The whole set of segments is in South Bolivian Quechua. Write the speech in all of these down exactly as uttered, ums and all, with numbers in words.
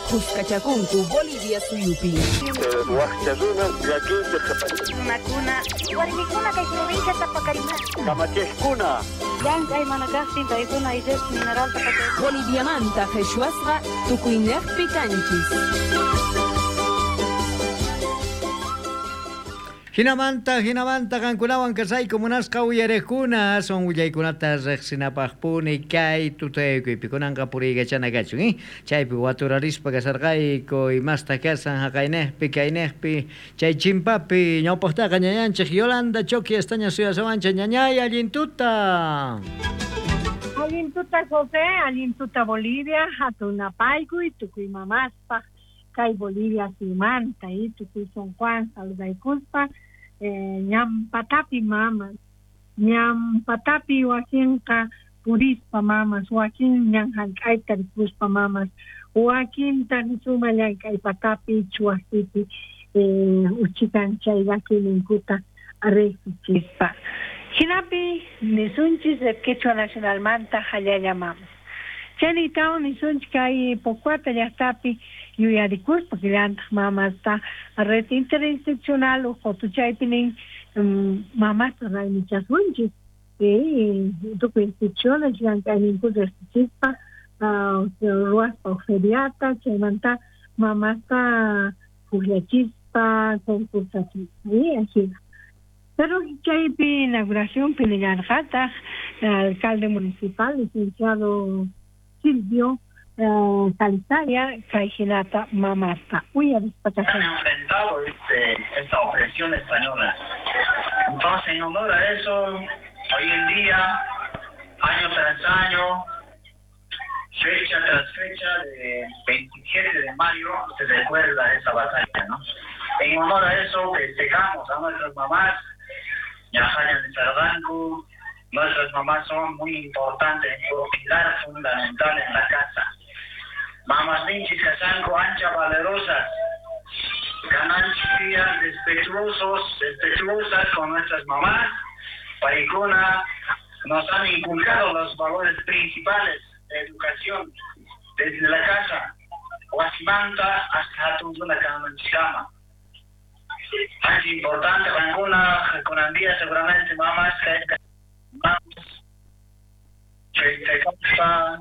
Khuskachakunku Bolivia suyupi. Wakcha runa llakinchik Runakuna, warmikuna kay provincia tapakarima. Kamachejkuna Llank'ay mana kaqtin paykuna illash mineralta pachay. Boliviamanta qhichwasqa tukuynejpi kanchis. Jinamanta, jinamanta, qankunawan kasayku munasqa uyariqkuna, son willaykunata riqsinapaqpuni kay tutaykuypi kunanqa puriykachana kachun, eh? Chaypi waturarispa kasarqayku imasta kasan haqaynejpi, kaynejpi, chay chimpapi ñawpaqtaqa ñañanchik Yolanda Choqui estaña suyasawanchik ñañay allin tuta. Allin tuta José, allin tuta Bolivia, hatunapaykuy tukuy mamaspaq kay Bolivia suyumanta y tukuy San Juan saludaykuspa eh, ñampatapi mamas, ñampatapi wakinqa purispa mamas, wakin ñan hank'ayta rikuspa mamas, wakinta suma llank'aypatapi chuwasipi eh, uchikan chay llakiyninkuta riqsichispa. Hinapi nisunchis Quechua Nacionalmanta hallalla mamas. Chaynitawan nisunchik kay Pocuata llaqtapi yuyarikuspa killantaq mamasta red interinstitucional uqhutuchaypi nin mamasta raymichasunchis eh, tukuy instituciones llank'ayninkuta riqsichispa ruwaspa feriata chaymanta mamasta pukllachispa concursachispa ajina. Pero chaypi inauguracionpi nillarqataq alcalde municipal licenciado Silvio Calizaya, kay hinata mamasta uyarispa Han enfrentado este, esta opresión española. Entonces, en honor a eso, hoy en día, año tras año, fecha tras fecha, de veintisiete de mayo, se recuerda esa batalla, ¿no? En honor a eso, festejamos a nuestras mamás, Yajaña de Sardanco. Nuestras mamás son muy importantes, un pilar fundamental en la casa. Mamás ninchis casanco, ancha valerosas, gananchis respetuosos, respetuosas con nuestras mamás. Paicuna nos han inculcado los valores principales de educación desde la casa, Huasimanta hasta Hatunduna Kamanchikama. Es importante, Paicuna, con Andía seguramente mamás que festejar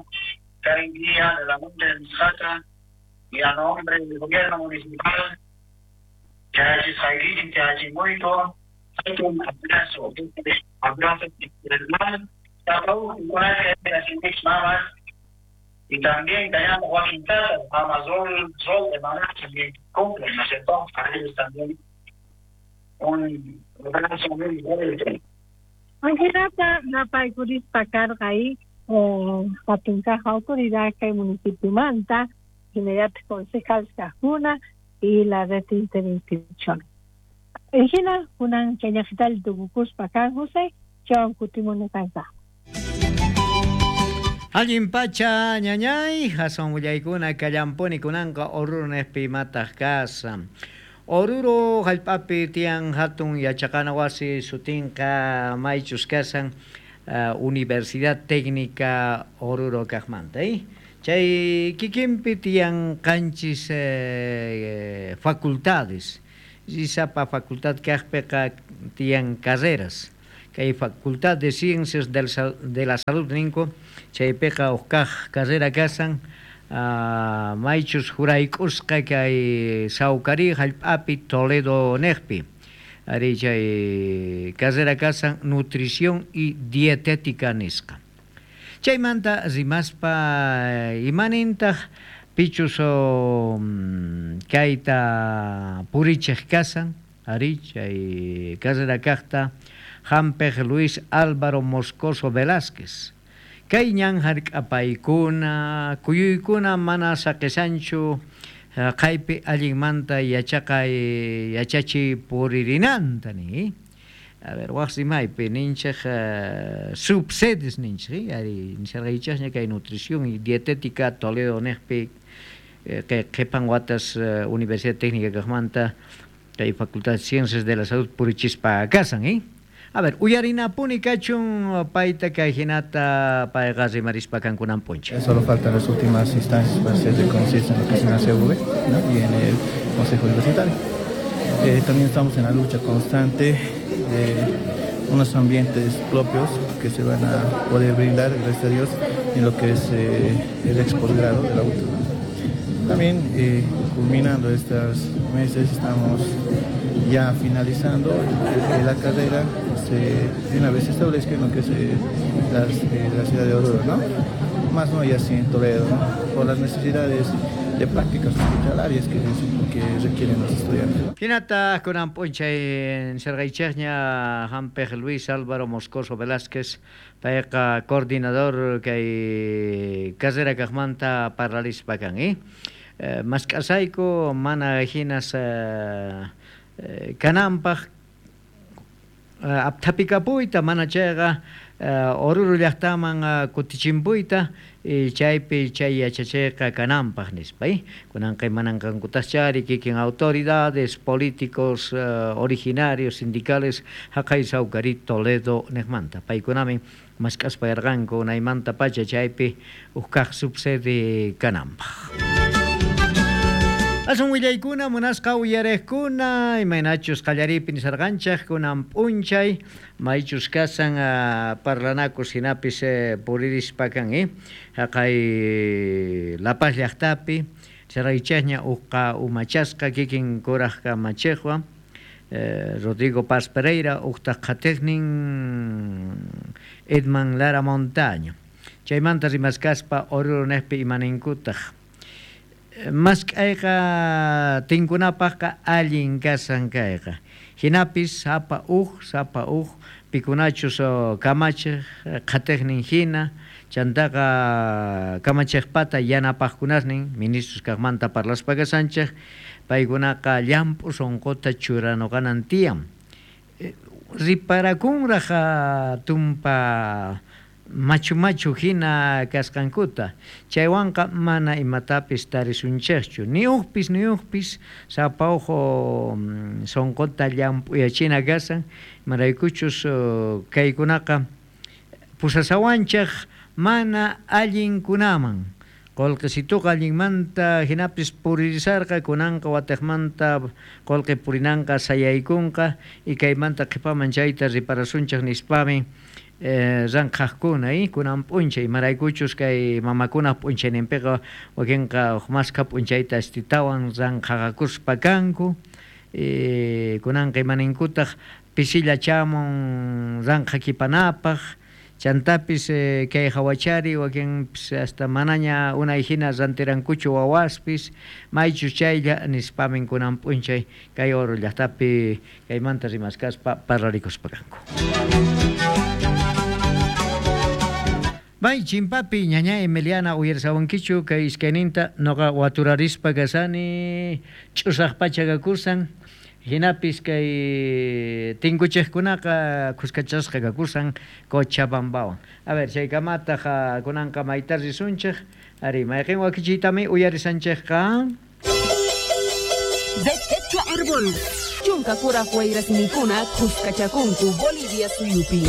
cada día de la Monte de Misata y a nombre del gobierno municipal, Chachi Saiguichi, Chachi Muito, un abrazo, un abrazo fraternal, y también Cayamo Joaquín Tata, Amazon, Sol de Maná, también cumplen, ¿no es cierto? A ellos también un abrazo muy fuerte. Angelata napaykurispa karqa ahí hatunkaqa autoridad kay municipio manta, hinallataq concejal kaqkuna y la red interinstitucional. Hina kunan chayllaqital tukukuspa kan José, chawan kutimuni kanqa. Allin pacha ñañay, hasan willaykuna kallampuni kunanqa Oruro nispi imataq kasan. Oruro hallp'api tiyan hatun yachaqana wasi sutinqa maychus kasan uh, Universidad Técnica Oruro kaqmanta, eh? Chay kikinpi tiyan qanchis eh, facultades. Sapa facultad kaqpiqa tiyan carreras. Kay Facultad de Ciencias del, de la Salud ninku, chaypiqa huk kaq carrera kasan Uh, maychus jurayk'usqa kay Sawkari hallp'api Toledo niqpi. Ari chay carrera kasan nutrición y dietética nisqa. Chaymanta rimaspa imanintaq pichus kayta purichiq kasan, ari chay carrera kaqta hampiq Luis Álvaro Moscoso Velázquez. Kay ñan hark'apaykuna, kuyuykuna mana saqisanchu qaypi allinmanta yachaqay yachachiy puririnanta ni. A ver, waq rimaypi ninchik uh, subsedes ninchik, ari nisarqaychasña kay nutrición y dietética Toledo niqpi kay qhipan watas uh, Universidad Técnica kaqmanta kay Facultad de Ciencias de la Salud purichispa kasan, eh? A ver, uyarinapuni kachun payta kay hinata payqa rimarispa kankunan p'unchay. Solo faltan las últimas instancias para ser reconocidas en lo que es en la C V, ¿no? Y en el Consejo Universitario. Eh, también estamos en la lucha constante de unos ambientes propios que se van a poder brindar, gracias a Dios, en lo que es eh, el ex posgrado de la U T U. También, eh, culminando estos meses, estamos ya finalizando la carrera, se, de una vez se establezca en lo que es, eh, las, eh, la ciudad de Oruro, ¿no? Más no ya así en Toledo, ¿no? Por las necesidades de prácticas hospitalarias que, que requieren los estudiantes. Hinata kunan p'unchay sergaychejña hampej Luis Álvaro Moscoso Velázquez, payqa coordinador kay carrera kajmanta parlarispa kan, eh? Eh, mask'asayku mana hinas eh, eh, kananpaj eh, apthapikapuyta mana chayqa eh, Oruro llaqtaman uh, kutichimpuyta y chaypi chay yachachayqa kananpaj nispa, eh? Kunanqa imananqankutaschari kikin autoridades, políticos uh, originarios, sindicales haqay Sawkari Toledo nejmanta. Paykunamin mask'aspa yarqanku unaymanta pacha chaypi uj subsede kananpaj. Asun willaykuna munasqa uyarejkuna imaynachus qallaripi nisarqanchej kunan p'unchay maychus kasan uh, parlanakus hinapis eh, puririspa kan, eh? Haqay La Paz llaqtapi saraychejña uqqa umachasqa kikin kuraj kamachejwan eh, Rodrigo Paz Pereira uqtaq qhatejnin Edman Lara Montaño. Chaymanta rimaskaspa Oruro nejpi imaninkutaq mask'ayqa tinkunapaqqa allin kasan kayqa. Hinapis sapa uj, sapa uj pikunachus kamachej qhatejnin hina, chantaqa kamachejpata yanapaqkunasnin ministros kaqmanta parlaspa kasanchej, paykunaqa llamp'u sunquta churanuqanan tiyan. Riparakunraj tumpa machu machu hina kasqankuta, chaywanqa mana imatapis tarisunchejchu, ni ujpis ni ujpis sapa uj sunquta llamp'uyachina kasan, imaraykuchus kaykunaqa pusasawanchej mana allinkunaman. Qullqisituqa allinmanta hinapis puririsarqa, kunanqa watejmanta qullqi purinanqa sayaykunqa y kaymanta qhipaman chayta riparasunchej nispami Eh, ranqhaqkuna, eh? Kunan p'unchay imaraykuchus kay mamakunaq p'unchayninpiqa wakinqa uj maskha p'unchayta astitawan ranqhaqakuspa kanku, eh, kunanqa imaninkutaq pisilla chamun ranqhakipanapaq, chantapis eh, kay hawachari wakinpis hasta manaña unay hina rantirankuchu wawaspis maychus chaylla nispamin kunan p'unchay kay Oruro llaqtapi kaymanta rimaskaspa parlarikuspa kanku. May chimpapi ñaña Emiliana uyarsawankichu kay iskayninta noqa waturarispa kasani ch'usaq pacha kakusan hinapis kay tinkuchejkunaqa khuskachasqa kakusan Cochabambawan. A ver, chaykamataq kunanqa mayta risunchej, ari mayqin wakichiytami uyarisanchejqa. De Quechua Árbol, chunka kuraj wayrasninkuna khuskachakunku Bolivia suyupi.